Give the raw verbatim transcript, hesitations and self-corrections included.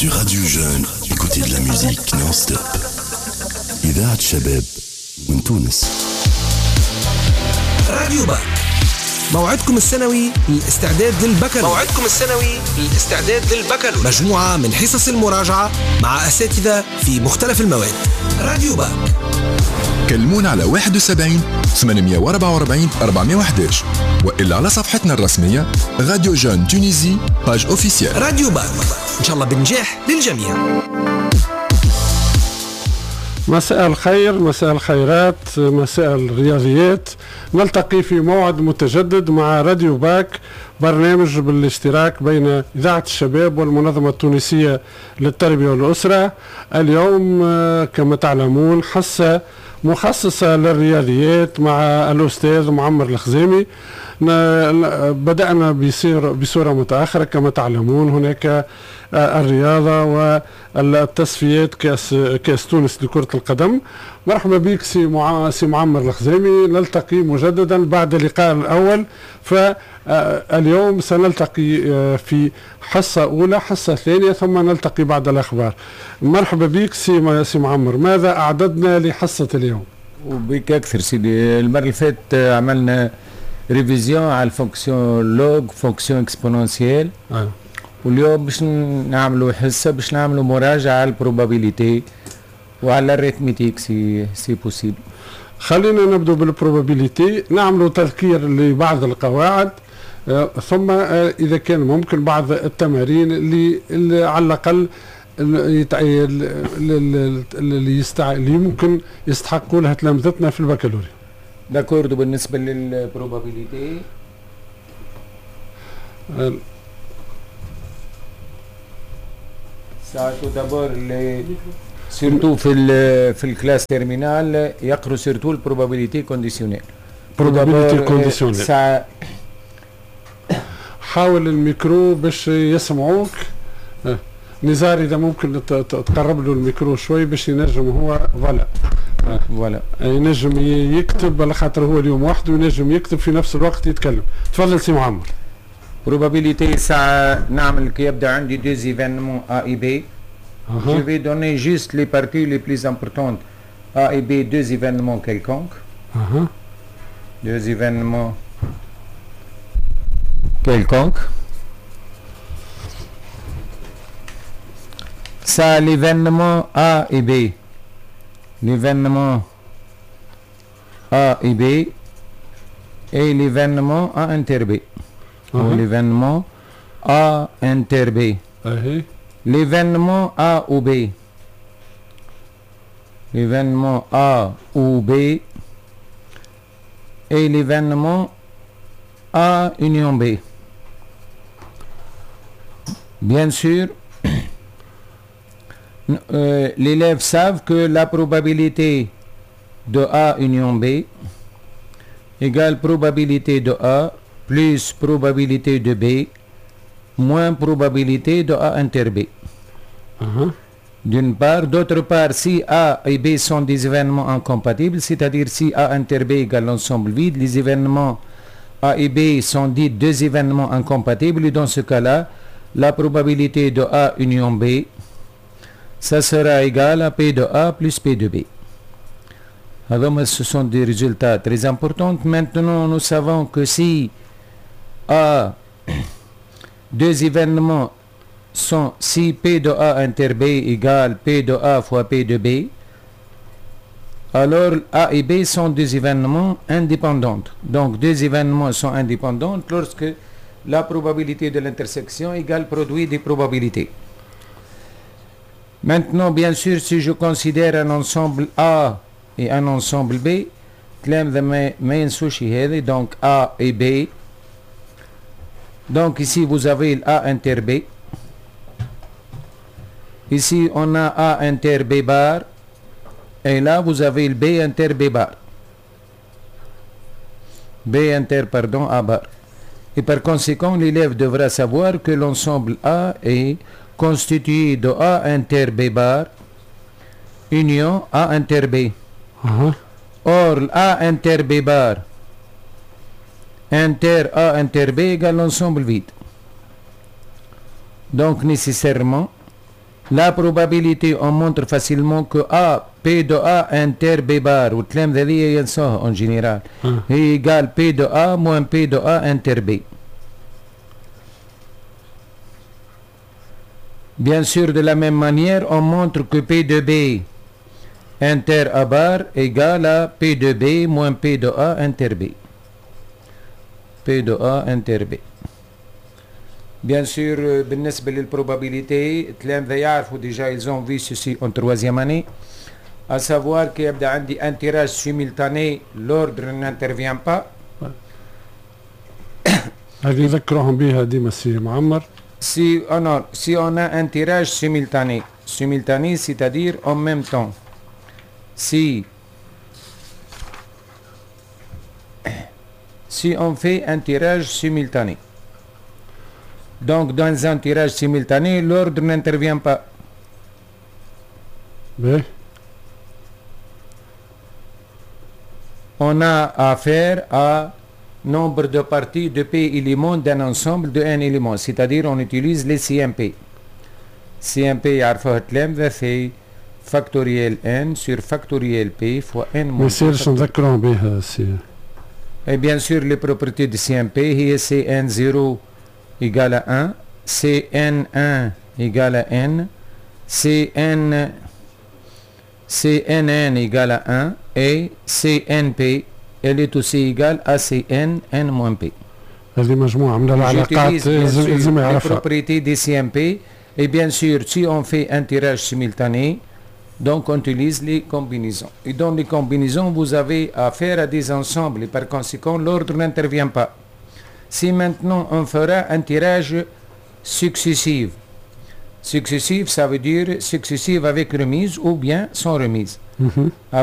Sur Radio Jeune, écoutez de la musique non-stop. إذاعة شباب من تونس. راديو باك، موعدكم السنوي للاستعداد للبكالوريا. موعدكم السنوي للاستعداد للبكالوريا، مجموعة من حصص المراجعة مع أساتذة في مختلف المواد. راديو باك. كلمونا على واحد وسبعين ثمانمية وأربعة وأربعين أربعمية وأحداش وإلا على صفحتنا الرسمية Radio Jeune Tunisie page officielle. راديو باك، إن شاء الله بنجاح للجميع. مساء الخير، مساء الخيرات، مساء الرياضيات. نلتقي في موعد متجدد مع راديو باك، برنامج بالاشتراك بين إذاعة الشباب والمنظمة التونسية للتربية والأسرة. اليوم كما تعلمون حصة مخصصة للرياضيات مع الأستاذ معمر الخزامي. بدأنا بصورة متأخرة كما تعلمون، هناك الرياضة والتصفيات كأس كأس تونس لكرة القدم. مرحبا بك سي سي معمر الخزامي، نلتقي مجددا بعد اللقاء الأول. فاليوم سنلتقي في حصة أولى، حصة ثانية، ثم نلتقي بعد الأخبار. مرحبا بك سي سي معمر، ماذا أعددنا لحصة اليوم؟ وبك أكثر سيدي. المرة اللي فاتت عملنا révision على ال fonction log، fonction exponentielle. آه. واليوم باش نعملوا حصة باش نعملوا مراجعه على ال probabilité وعلى ال arithmétique si si possible. خلينا نبدو بال probabilité، نعملوا تذكير لبعض القواعد، آه ثم آه اذا كان ممكن بعض التمارين اللي, اللي على الاقل اللي, اللي يمكن يستحقوا لها تلامذتنا في البكالوريا. d'accord. بالنسبة لل probabilité ساعة d'abord surtout في ال في ال classe terminale يقروا surtout ال probabilité conditionnelle. probabilité conditionnelle. ساعة حاول الميكرو باش يسمعوك. نزار اذا ممكن تقرب له الميكرو شوي باش ينجم هو voilà voilà ينجم يكتب، على خاطر هو اليوم وحده ينجم يكتب في نفس الوقت يتكلم. تفضل سي معمر. probabilité ساعة نعمل كي يبدا عندي deux événements A et B. Je vais donner juste les parties les plus importantes. A et B, deux événements quelconques. Uh-huh. Deux événements quelconques. Ça, l'événement A et B. L'événement A et B et l'événement A inter B. Uh-huh. Ou l'événement A inter B. Uh-huh. L'événement A ou B. L'événement A ou B et l'événement A union B. Bien sûr, euh, l'élève savent que la probabilité de A union B égale probabilité de A plus probabilité de B moins probabilité de A inter B. Uh-huh. D'une part. D'autre part, si A et B sont des événements incompatibles, c'est-à-dire si A inter B égale l'ensemble vide, les événements A et B sont dits deux événements incompatibles, et dans ce cas-là, la probabilité de A union B, ça sera égal à P de A plus P de B. Alors, ce sont des résultats très importants. Maintenant, nous savons que si A, deux événements sont, si P de A inter B égale P de A fois P de B, alors A et B sont deux événements indépendants. Donc deux événements sont indépendants lorsque la probabilité de l'intersection égale produit des probabilités. Maintenant, bien sûr, si je considère un ensemble A et un ensemble B, donc A et B. Donc ici, vous avez A inter B. Ici, on a A inter B bar. Et là, vous avez le B inter B bar. B inter, pardon, A bar. Et par conséquent, l'élève devra savoir que l'ensemble A est constitué de A inter B bar, union A inter B. Uh-huh. Or, A inter B bar inter A inter B égale l'ensemble vide. Donc, nécessairement, La probabilité, on montre facilement que A, P de A inter B bar, والتلامذة هذه ينسوها en général, هي égale P de A moins P de A inter B. Bien sûr, de la même manière, on montre que P de B inter A bar égale à P de B moins P de A inter B. P de A inter B. Bien sûr, بالنسبة لل probabilité التلامذة يعرفوا déjà, ils ont vu ceci en troisième année, à savoir que يبدا عندي un tirage simultané, l'ordre n'intervient pas. هذه يذكرهم بها ديما سي معمر. Si on a, si on a un tirage simultané, simultané c'est-à-dire en même temps, si si on fait un tirage simultané, donc dans un tirage simultané, l'ordre n'intervient pas. Oui. On a affaire à nombre de parties de P éléments d'un ensemble de N éléments, c'est-à-dire on utilise les C M P. C M P يعرفوها التلامذة في factoriel N sur factoriel P fois N moins. ما يصيرش نذكرهم بها سي. Et bien sûr les propriétés de C M P هي C N zéro égale à un, C N un égale à N, C N, C N N égale à un et C N P elle est aussi égale à C N N moins P. هذه مجموعة من العلاقات لازم يعرفها. Les propriétés des C M P et bien sûr si on fait un tirage simultané, donc on utilise les combinaisons. Et dans les combinaisons vous avez affaire à des ensembles et par conséquent l'ordre n'intervient pas. Si maintenant on fera un tirage successif, successif ça veut dire successif avec remise ou bien sans remise. Mm-hmm.